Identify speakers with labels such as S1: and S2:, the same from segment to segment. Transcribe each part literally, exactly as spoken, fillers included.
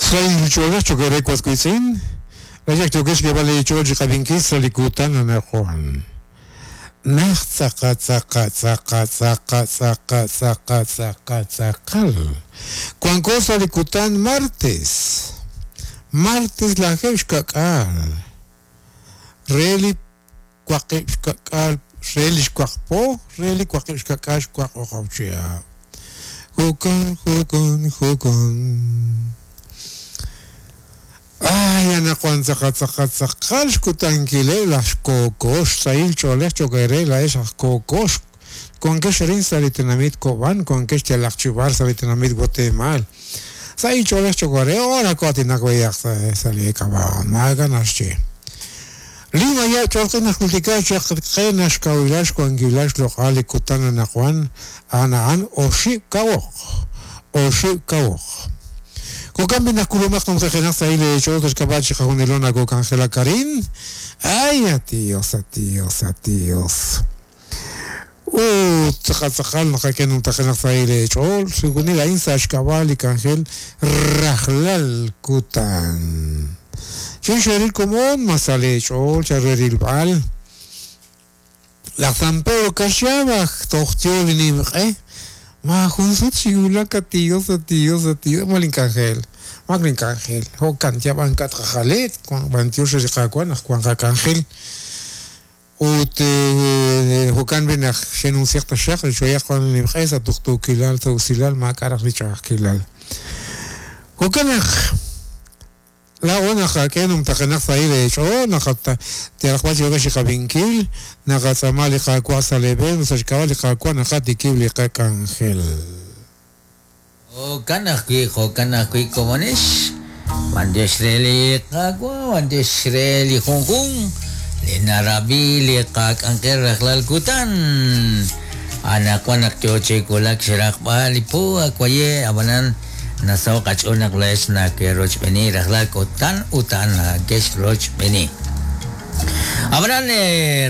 S1: Sahil ch'oolej cho'q re waswitz'in layak yokex keb'al ch'ool chi qab'inkil sa' li kutan anaqwan naj tz'aqa tz'aqa tz'aqa tz'aqa tz'aqa tz'aqa tz'aqa tz'aqal wanko sa' li kutan martes martes lajeeb' xka'k'aal re li waqib' xka'k'aal re li xwaqpo re li waqib' xka'k'aal xwaq oqob' chihab' jo'kan jo'kan jo'kan. Ay, anaqwan tz'aqa tz'aqa tz'aqal xkutankileb' laj xkookox sahil ch'oolej cho'q re laa'ex aj kookox wankex arin sa' li tenamit Kob'an wankex yalaq chi b'ar sa' li tenamit Guatemala sahil ch'oolej cho'q re ora ko'aatinak b'ayaq sa' li kab'aon maak'a' naxye li maya' ch'oolq'in najultika chaq qe naxkawilal xwankilal xloq'al li kutan anaqwan a'an a'an oxib' kawoq oxib' kawoq. Jo'kan b'i najkulumaq numjejenaq sahil ch'ool xk'ab'a' chi qajunilo nakok'anjelak arin. Ay, atios, atios, atios. Ut tz'aqal tz'aqal naqak'e numtajenaq sahil ch'ool xjunil a'in sa' xk'ab'a' li k'anjel rajlal kutan. Chin xeril komon masale ch'ool charerilb'al. Laj San Pedro kaxab'aj toj tyo li nimq'e. Ma jun sut xiwulak atios, atios, atios, malin k'anjel, maklin k'anjel, jo'kan yab'an katqajalet, b'antiox li qawan aj wan qak'anjel. Ut jo'kan b'i naq xenunsiaq taxaq li xoyaq wan nimq'e sa' tuqtuukilal sa' usilal maak'a' raj li ch'a'ajkilal. Jo'kan naq laa'o naqak'e numtaqenaq sahil ch'ool naqata yalaq b'ar yo'kex chi qab'inkil naqatz'aama li qaawa' sa' leb'en sa' xk'ab'a' li qaawa' naqatikib' li qak'anjel.
S2: Jo'kan ajwi' jo'kan ajwi' komonex b'antiox re li qaawa' b'antiox re li junjun li narab'i li qak'anjel rajlal kutan anaqwan naq yo chi wulak xraqb'al li po akwaye ab'anan nasaw qach'ool naq laa'ex nake'rochb'eeni rajlal kutan utan nakex rochb'eeni. Ab'anan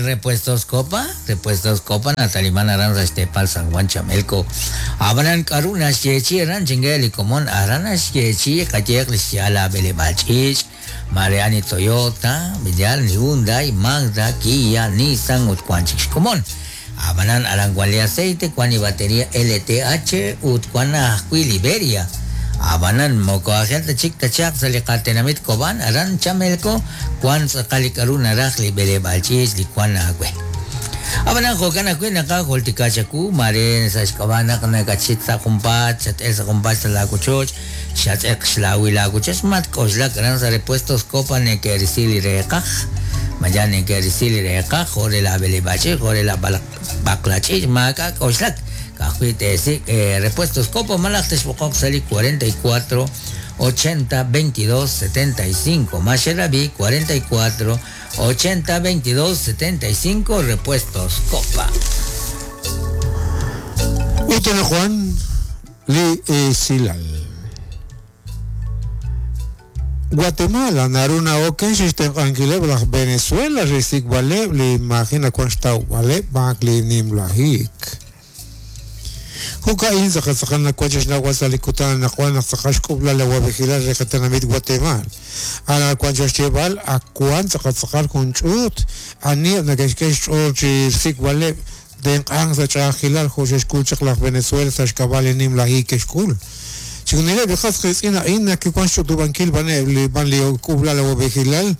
S2: Repuestos Copa, Repuestos Copa nataliman aran sa' xteepal San Juan Chamelco. Ab'anan k'aru naxyeechi aran chinge li komon aran naxyeechi qayeeq li xyaal ab'eleb'aal ch'iich' Mariani Toyota, Villal, Hyundai, Mazda, Kia, Nissan ut wan chik xkomon. Ab'anan aran wan li aceite, wan li batería L T H ut wan ajwi' Liberia. Abanan moko ajel tachik tachaq sa' li qatenamit Kob'an aran Chamelco wan tz'aqal li k'aru naraj li b'eleb'aal ch'iich li wan awe. Abanan jo'kan ajwi' naqajultika chaku mare sa' xk'ab'a' naq nakachit sa' junpaat xat'el sa' junpaat sa' laawochoch xatz'eq xlaawi laawochoch matk'oxlak aran sa' Repuestos Copa neke'risi li reeqaj maya neke'risi li reeqaj jo' re la b'eleb'aal ch'iich jo' re la b'aqla ch'iich maak'a' k'oxlak. Ajwi' teesik Repuestos Copa malaj texb'oqoq sa' li cuarenta y cuatro ochenta veintidós setenta y cinco Maxerabi cuarenta y cuatro ochenta veintidós setenta y cinco Repuestos Copa.
S1: Ut Juan li Silal. Guatemala naruna oken xixtenq'ankileb' laj Venezuela risikb'aleb' li imagina wan xtawb'aleb' b'aq li nimlajik. Jo'ka'in tz'aqal tz'aqal nawanch xnawal sa' li kutan anaqwan naq tz'aqal xk'ub'lal la wab'ejilal re qatenamit Guatemala. Ara wanch xyeeb'al akwan tz'aqal tz'aqal jun ch'uut ani nake'xk'e xch'ool chi sikb'aleb' tenq'ank sa' ch'a'ajkilal jo' xe'xk'ul chaq laj Venezuela sa' xk'ab'a' li nimlajik ke'xk'ul. Chixjunileb' li qas qiitz'in a'in nakiwan xch'utub'ankil b'aneb' li b'an li k'ub'lal la wab'ejilal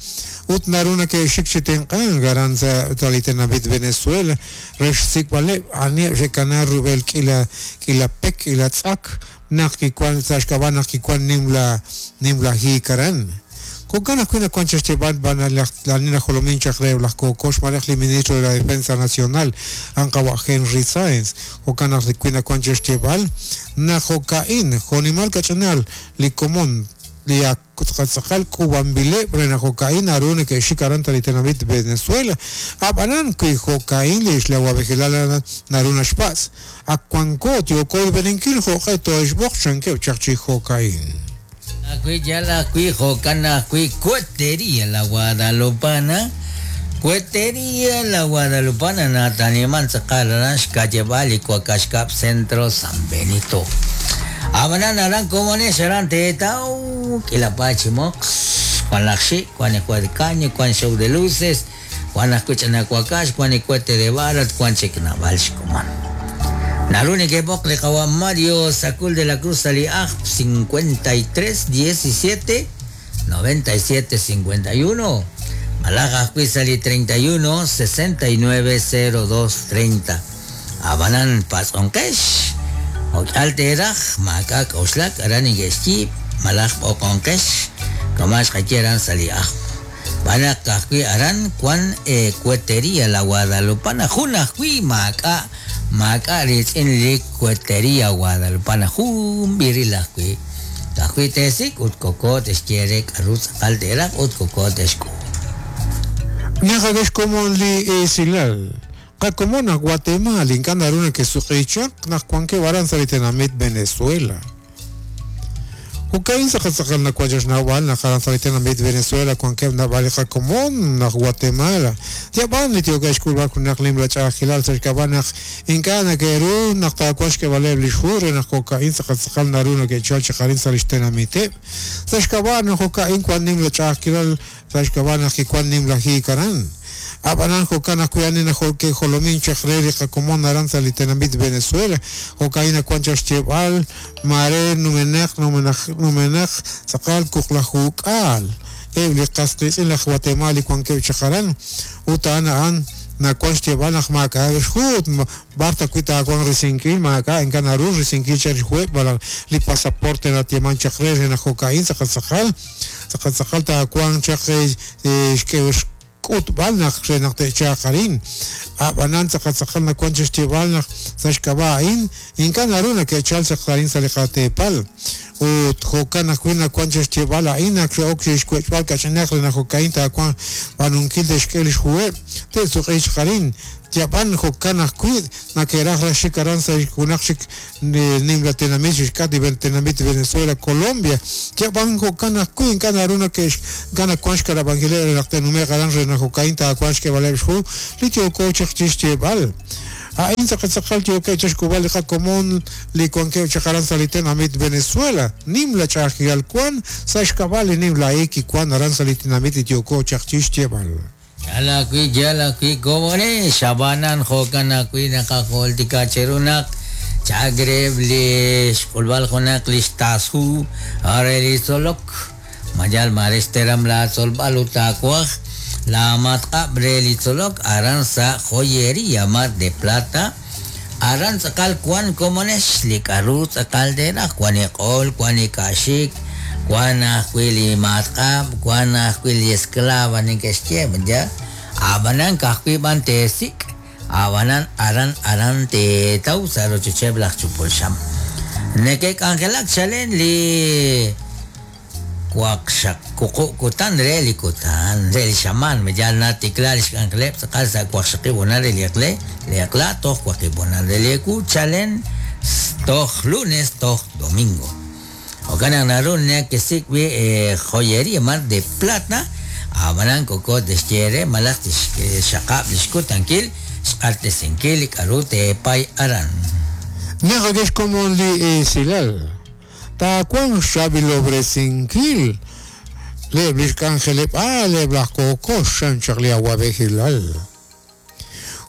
S1: ut naru nake'xik chi tenq'ank aran sa' li tenamit Venezuela re xsikb'aleb' anieb' xe'kana rub'el k'ila k'ila pek k'ila tz'ak naq kiwan sa' xk'ab'a' naq kiwan nimla nimlajik aran. Jo'kan ajwi' nawan xyeeb'al b'an la nina jolomin chaq re laj Kokox malaj li ministro de la Defensa Nacional anqawa' Henry Sáenz. Jo'kan ajwi' nawan xyeeb'al naq jo'ka'in jo'nimal kach'inal li komon li tz'aqal k'ub'anbileb' re naq jo'ka'in naru neke'xik aran ta li tenamit Venezuela. Ab'anan wi jo'ka'in li xlawab'ejilal naru naxpatz' ak wanko yooko b'eeninkil jo'q'e to'exb'oq chankeb' chaq chi jo'ka'in.
S2: Ajwi' yal ajwi' jo'kan ajwi' Cuetería La Guadalupana Cuetería La Guadalupana nataniman tz'aqal aran xka'yeb'al li Cuacaxcab Centro San Benito. Abanan aran komones aran teetau kilapachimox Juan Laxi, Juan Ecuadcaño, Juan Show de Luces, Juan Ascuchanacuacash, Juan Icuete de Barat, Juan Checnavalxcoman. Narune que Bocle Mario Sacul de la Cruz Aliaj cincuenta y tres diecisiete noventa y siete cincuenta y uno. Malaga Cuizali treinta y uno sesenta y nueve cero dos treinta. Abanan Pazonkesh. Okalteraj, Macac Oslak, Aranigueski, Malaj Okonkesh, Comas Jaquieran Saliaj. Banacajui Aran, Juan Cuetería, la Guadalupana, Junajui, Maca, Maca, en Cuetería, Guadalupana, Jum, Virilajui. Tajui Tesik, Utcocot, Esquierek, Aruz, Altera, Utcocot, Escu.
S1: Njagesh como li esilal. Kakomona Guatemala, inkanaruna que suqichak, nahuanque baranza litenamit Venezuela. Ukain sakasakal na kwajash nawal na karanza litenamit Venezuela, cuanque navalija común na Guatemala. Tiaban litiogash kulbar kunak limla chahilal sarkabanaj inkana keru naktakuash que vale blishure na cocaín sakasakal naruna que chalcha karinza litenamite. Sashkaban cocaín cuan nimla chahilal sashkabanaj y cuan nimla jikaran. Abanan jocana cuyanina joque jolomin chacreri jacomón aranza litenamit Venezuela jocaína cuanchas chebal mare numenaj numenaj numenaj sacal cuclajucal ebli castris en la Guatemala y cuanque chacarán utana an na cuanch chebal maca hut barta cuita cuan resinkil maca en canaru resinkil charjue para li pasaporte na tieman chacreri na jocaín sacal sacal sacal sacal ta cuan chacre que Utbalnach, Renactechacarín, Abananza, Kazakana, Conchestibalnach, Sashkabain, Incanaruna, que Chalza, Clarín, Salecatepal, Ut, Jocana, Cuina, Conchestibala, Ina, Oxish, Quechbal, Cachanaclena, Jocainta, Juan, Panunquil de Shkelish Jue, Tezuch, Jarín, Japan, Jocana, Quid, Naqueraja, Chicaranza, Junachik, Nimla, Tenamit, Cati, Tenamit, Venezuela, Colombia, Japan, Jocana, Quid, Canaruna, que Gana, Cuanchca, Vangelera, Lactenume, Garan, Renajocainta, Cuanchque, Valerju, Litio, Cochach, Chichebal. Ain sakasakal tio que chashkubal común li cuanque chacaran salitenamit Venezuela nimla chajial cuan sashkabal nimla eki cuan aran salitenamit tio cochach chichebal.
S2: Yala kui yala kui komone shabanan jokana kui nakakoltika cherunak chagreb lish kulbal jonak lish tasu arelisolok mayal maresteram la solbaluta kuaj la matka brelitolok aranza joyería Mar de Plata aranza cal cuan comones likarut caldera cuanecol cuanicashik cuanahuili matka cuanahuili esclava ni que ya abanan kahuiban tesik abanan aran aran te tausa rochecheblach chupulsham nekek angelak chalen li kutan reli kutan reli shaman me ya na tiklarish anglep sakasa kuaxaqibuna reli akle le akla toh kuaqibuna reli ku chalen toh lunes toh domingo okana narun que sikwi joyería Mar de Plata abanan koko desquiere malak shaqab lishkutankil xqartesenkil karute pay aran
S1: Nejagesh como li silal Ta cuan xabilobresinquil le bliscangelep a le blacoco xanchaglia guabejilal.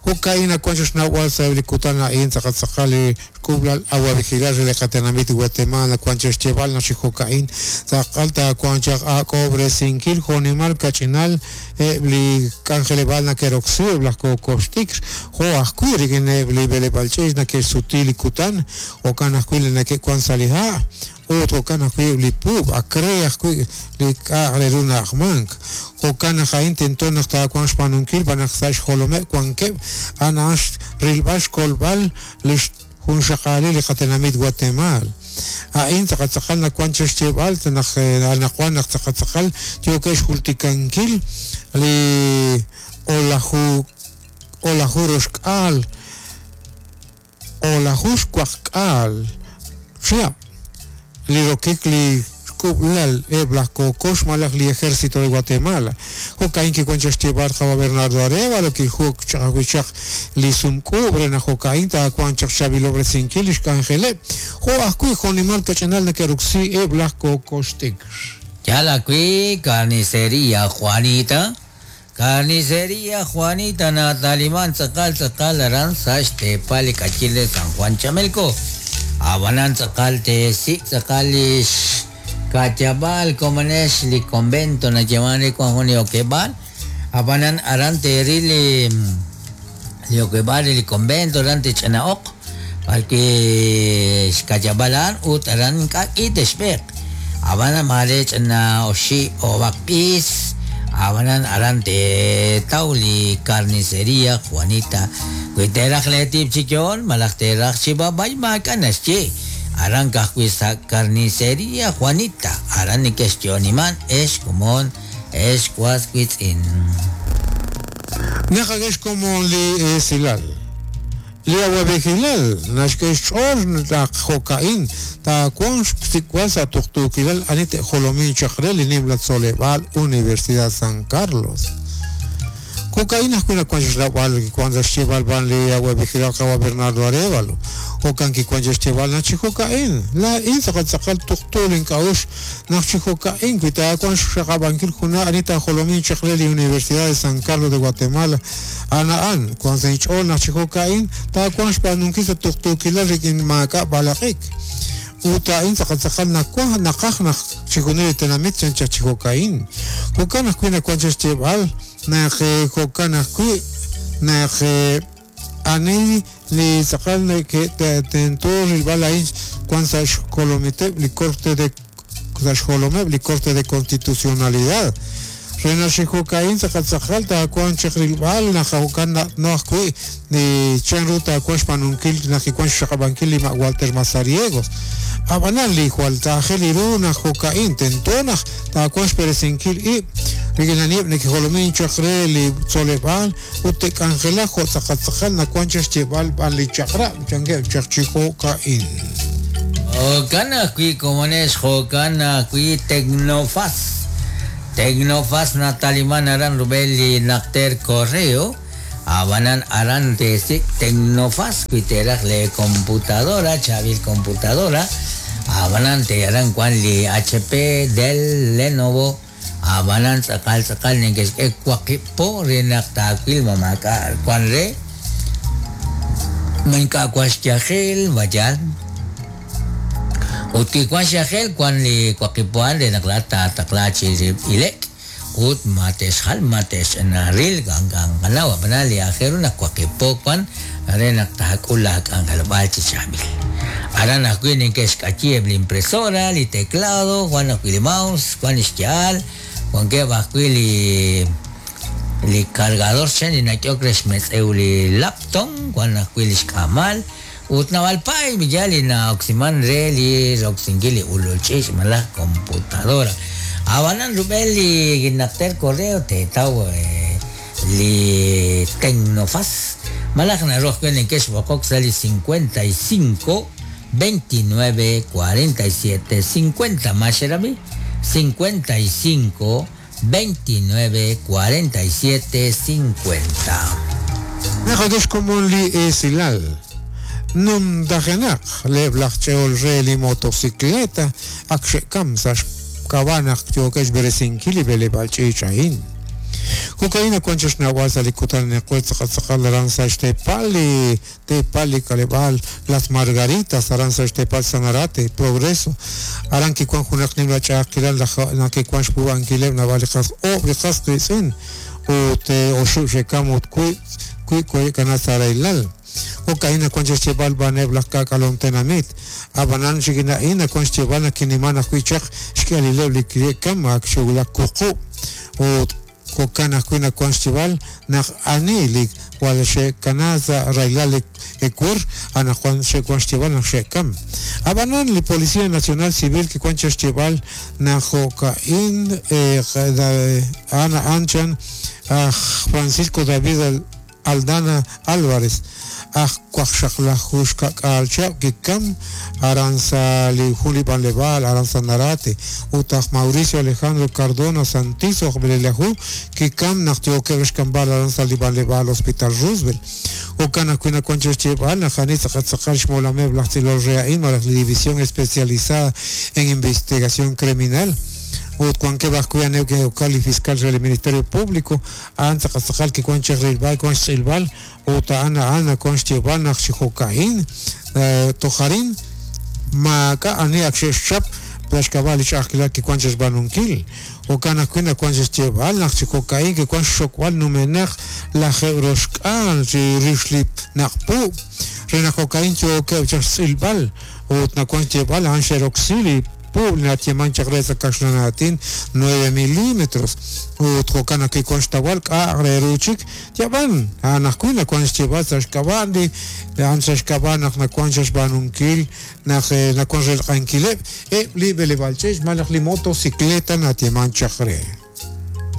S1: Jocaína cuanchas nahual sablicutana in zacatzacali cublal aguabejilal le catenamit Guatemala cuanchas cheval nachi jocaín zacalta cuanchas a cobresinquil jonimal cachinal ebli cangelebal queroxi blacocoxtix joascuirigin ebli belepalches na que sutilicután o canascuil na que cuan salija otro cana li pub a crea li ka runa mank o cana jain tentona hasta cuan spanunkil van a jolome cuan que anash rilbash kolbal lish junshaqali li qatenamit Guatemala ain taqatzaqal na cuan chechebal tanaj anajuan taqatzaqal tio que xultikankil li olahu olajuroshkal olajushkuajkal xia li rokik li xk'ub'lal eb' laj kokox malaj li Ejército de Guatemala. Jo'ka'in kiwan chaq xyeeb'al qawa Bernardo Arévalo kijuk chaq ajwi' chaq li sumk'uub' re naq jo'ka'in taawanq chaq xchaab'ilob'resinkil li xk'anjeleb' jo' ajwi' jo'nimal kach'inal nake'roksi eb' laj kokox t'ikr.
S2: Yal ajwi' Carnicería Juanita, Carnicería Juanita nataliman tz'aqal tz'aqal aran sa' xteepal li k'achil de San Juan Chamelco. Abanan tz'aqal teesik' tz'aqal li xka'yab'al komonex li convento nayeeman re wan jun li okeb'aal. Abanan aran teeril li li okeb'aal li convento aran tech'ana'oq b'arwi' xka'yab'al a'an ut aran ink'a' k'i texb'eeq. Abanan mare ch'ana oxib' ob'aq b'is. Abanan aran teetaw li Carnicería Juanita. Wi teeraj leetib' chi yo'on malaj teeraj chi b'ab'ay maak'a' naxye. Aran ka'ajwi' sa' Carnicería Juanita. Aran neke'xyo'oniman ex komon ex was wiitz'in.
S1: Naqakex komon li esilal. Li awab'ejilal naxk'e xch'ool naq jo'ka'in taawanq xsik'b'al sa' tuqtuukilal ani te'jolomin chaq re li nimla tzoleb'aal Universidad San Carlos. Jo'ka'in ajwi' nawank xnawb'al kiwank sa' xyeeb'al b'an li awab'ejilal qawa Bernardo Arévalo. Jo'kan kiwank sa' xyeeb'al naq chi jo'ka'in laa'in tz'aqal tz'aqal tuqtu link'a'uxl naq chi jo'ka'in wi taawanq xxaqab'ankil junaq ani taajolomin chaq re li Universidad de San Carlos de Guatemala ana'an wank sa' inch'ool naq chi jo'ka'in taawanq xb'aanunkil sa' tuqtuukilal rik'in maak'a' b'alaq'ik. Ut a'in tz'aqal tz'aqal nawank naqaj naq chijunil li tenamit chan chaq chi jo'ka'in. Jo'kan ajwi' nawank sa' xyeeb'al naq jo'kan ajwi' naq ani li tz'aqal tento rilb'al a'in wank sa' xkolomiteb' li Corte de sa' xjolomeb' li Corte de Constitucionalidad. Re naq chi jo'ka'in tz'aqal tz'aqal taawanq chaq rilb'al naq jo'kan no ajwi' li chanru taawanq xb'aanunkil naq kiwank xxaqab'ankil li ma' Walter Mazariegos. Ab'anan li jwal taajel ru naq jo'ka'in tento naq taawanq xb'eresinkil ib' rik'in aniheb' nekejolomin chaq re li tzoleb'aal ut te'k'anjelaq jo' tz'aqal tz'aqal nawank chaq xyeeb'al b'an li chaq'rab' chankeb' chaq chi jo'ka'in.
S2: Jo'kan ajwi' komonex jo'kan ajwi' Tecnofaz. Tecnofaz nataliman aran rub'el li naqter correo. Abanan aran teesik' Tecnofaz wi teeraj le computadora, chaab'il computadora. Abanan te aran wan li H P, Dell, Lenovo. Abanan tz'aqal tz'aqal neke'xk'e waqib' po re naq taawil ma maak'a' wan re. Ma ink'a' wan xyajel, mayal. Ut kiwan xyajel wan li waqib' po re naq laa'at taataqla chi ilek. Ut ma te'xjal, ma te'xnaril, ganganganaw, abanan li aajel ru naq waqib' po wan re naq taak'ul laak'anjelob'aal chi chaab'il. Aran ajwi' neke'xk'ayi eb' li impresora, li teclado, wan ajwi' li mouse, wan li xyaal, wankeb' ajwi' li li cargador chen li nak'ehok re xmetz'ew li laptop, wan ajwi' li xk'amal. Ut naab'al pay ya li na'oksiman re li roksinkil li ulul ch'iich' malaj computadora. Abanan rub'el li naqter correo teetaw li Tecnofaz. Malaj naru ajwi' neke'xb'oqok sa' li cincuenta y cinco, veintinueve, cuarenta y siete, cincuenta. Ma xerabi? cincuenta y cinco, veintinueve, cuarenta y siete, cincuenta.
S1: Naqakex komon li esilal. Numdajenaq leb' laj ch'eol re li motocicleta ak xe'kam sa' xk'ab'anaq yookex b'eresinkil li b'eleb'aal ch'iich' a'in. Jo'ka'in nawank chaq xnawb'al sa' li kutan neq'we tz'aqal tz'aqal aran sa' xteepal li teepal li k'aleb'aal Las Margaritas aran sa' xteepal Sanarate, Progreso. Aran kiwank junaq nimla ch'a'ajkilal naq kiwank xpuub'ankileb' naab'al li qas oob' li qas qiitz'in ut oxib' xe'kam ut wiib' wiib' ko'e'kana sa' raylal. Jo'ka'in nawank chaq xyeeb'al b'aneb' laj k'aak'alom tenamit. Ab'anan xik'in a'in nawank xyeeb'al naq kiniman ajwi' chaq xk'alileb' li ki'kam ak xwulak wuqub'. Ut jo'kan ajwi' nawank xyeeb'al naq ani li jwal xe'kana sa' raylal li ekur anaqwan xe'wank xyeeb'al naq xe'kam. Ab'anan li Policía Nacional Civil kiwank chaq xyeeb'al naq jo'ka'in ana anchan aj Francisco David Aldana Álvarez aj waqxaqlaju xka'k'aal chihab' kikam aran sa' li jun li b'anleb'aal aran sa' Narate ut aj Mauricio Alejandro Cardona Santizo aj b'elelaju kikam naq yookeb' xkamb'al aran sa' li b'anleb'aal Hospital Roosevelt jo'kan ajwi' nawan chi xyeeb'al naq ani tz'aqal tz'aqal xmolameb' laj tz'ilol re a'in malaj li División Especializada en Investigación Criminal ut wankeb' ajwi' anew ke'okal li fiscal re li Ministerio Público a'an tz'aqal tz'aqal kiwan chaq rilb'al kiwan xtz'ilb'al ut a'an a'an nawan xyeeb'al naq chi jo'ka'in tojarin maak'a' ani ak xe'xchap xk'ab'a' li ch'a'ajkilal kiwan chi xb'aanunkil jo'kan ajwi' nawan chi xyeeb'al naq chi jo'ka'in kiwan xxokb'al numenaq lajeeb' roxk'aal chi rix li naq'puub' re naq jo'ka'in yookeb' chaq xtz'ilb'al ut nawan xyeeb'al a'an xe'roksi li puub' li natyeeman chaq re sa' kaxlan aatin nueve milímetros ut jo'kan naq kiwan xtawal k'a' re ru chik yab'an a'an ajwi' nawan xyeeb'al sa' xk'ab'a' li a'an sa' xk'ab'a' naq nawan xb'aanunkil naq nawan relq'ankileb' eb' li b'eleb'aal ch'iich' malaj li motocicleta natyeeman chaq re.